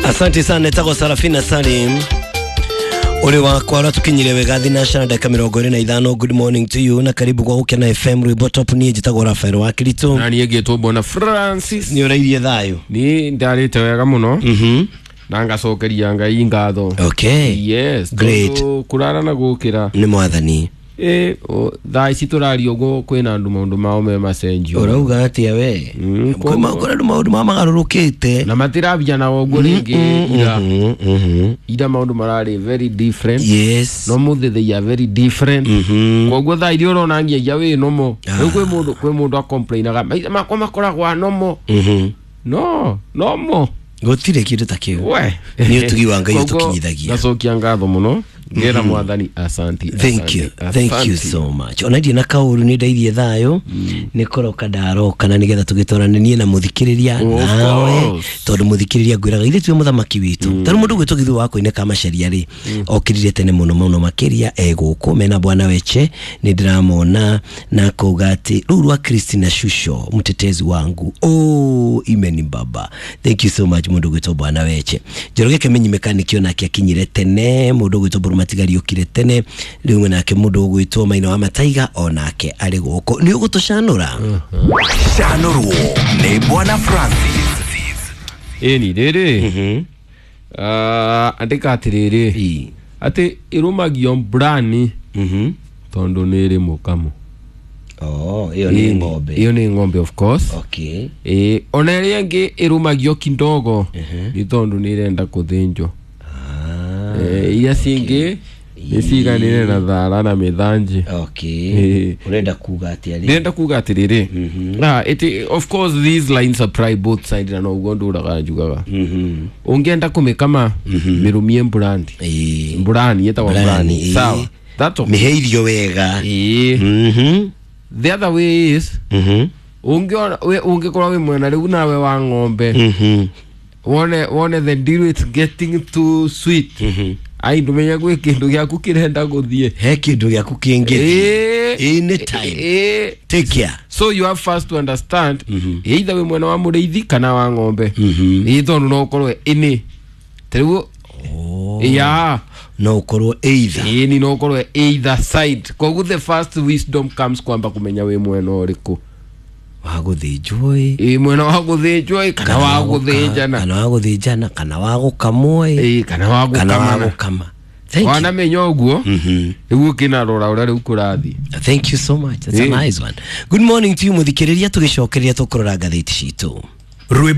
Asante sana etagwo Sarafina Salim uri wakwa ũrĩa tũkinyire wega thinacara ndagĩka 25. Good morning to you na karibu gwa Gũkena FM rwĩmbo top. Niĩ njĩtagwo Rafael wa Kiritũ. Na niĩ ngĩtwo Bwana Francis. Nĩ ũrairie thayũ? Niĩ ndarĩte wega mũno na ngacokeria Ngai ngatho. Yes. Great. Tondũ kũrara na gũkĩra nĩ mwathani. Ĩ, thaa ici tũraria ũguo kwĩna andũ maũndũ mao me macenjio. Ũrauga atĩa we? Kũrĩ andũ maũndũ mao magarũrũkĩte. Na matirambia na ũguo rĩngĩ ira. Ira maũndũ mararĩ very different. No mũthĩ they are very different. Koguo thaa iria ũrona ngiagia wĩ nomo rĩu kwĩ mũndũ acomplainaga maitha makwa makoragwo anomo. No nomo. Gũtirĩ kĩndũ ta kĩu. We. Nĩ ũtugi wa Ngai Koguo, ũtũkinyithagia. Ngacokia ngatho mũno ngera mwathani asanti. Thank you. Asanti, Thank you asanti. so much. Ona ndirĩ na kaũru, nĩ ndairie thayũ, nĩ kũroka ndaroka na nĩgetha tũgĩtwarane niĩ na mũthikĩrĩria Of nawe course. tondũ mũthikĩrĩria ngwĩraga ithuĩ tuĩ mũthamaki witũ tarĩu mũndũ gwĩtwo Githu wa Koine ka Macharia rĩ, okĩrire tene mũno mũno makĩria e gũkũ mena bwana Weche nĩ ndĩramona na kuga atĩ rũu rwa Christina Shusho mtetezi wangu, oh, imeni baba, thank you so much. Mũndũ gwĩtwo bwana Weche Njoroge Kemenyi mekaniki onake akinyire tene. Mũndũ gwĩtwo Mbũrũ Matigari okire tene rĩu, nake mũndũ ũgwĩtwo Maina wa Mataiga onake arĩ gũkũ. Nĩ ũgũtũcanũra. Canũrwo nĩ Bwana Francis. Ĩni rĩrĩ, andĩka atĩrĩrĩ atĩ ĩrũmagio mburani tondũ nĩ ĩrĩ mũkamo. Oh, ĩyo nĩ ng'ombe. Ĩyo nĩ ng'ombe, of course. Ĩ, ona ĩrĩa ĩngĩ ĩrũmagio kidogo nĩ tondũ nĩ ĩrenda kũthĩnjwo. Iria cingĩ nĩ ciganĩre na thara na mĩthanji. Ũrenda kuga atĩa rĩ? Ndĩrenda kuga atĩrĩrĩ, of course these lines apply both sides na noguo ndũraga njugaga ũngĩenda kũmĩkama mĩrũmie mburandi. Mburani ĩtagwo Mburani, mburani. Sawa, that's okay. Mĩhe irio wega. The other way is ũngĩona ũngĩkorwo wĩ mwena rĩu nawe wa ng'ombe, wone the deal is getting too sweet, ai ndũmenye gwĩ kĩndũ gĩaku kĩrenda gũthiĩ. He kĩndũ gĩaku kĩngĩ. Anytime. Take care. So you have first to understand either wĩ mwena wa mũrĩithi kana wa ng'ombe, ĩ tondũ no ũkorwo ĩnĩ tarĩu ya. No ũkorwo either. Ĩni no ũkorwo either side. Koguo the first wisdom comes kwamba kũmenya wĩ mwena ũrĩkũ. Wa gũthĩnjwo ĩ. Ĩ, mwena wa gũthĩnjwo ĩ kana wa gũthĩnjana. Kana wa gũthĩnjana kana wa gũkamwo ĩ. Ĩ, kana wa kana wa gũkamana. gũkama. Thank you. Wanamenya ũguo rĩu ũkĩnarora ũrĩa rĩu kũrathiĩ. Thank you so much. That's a nice one. Good morning to you, muthikĩrĩria. Tũgĩcokeria tũkũrora ngathĩti citũ. Rwĩmbo.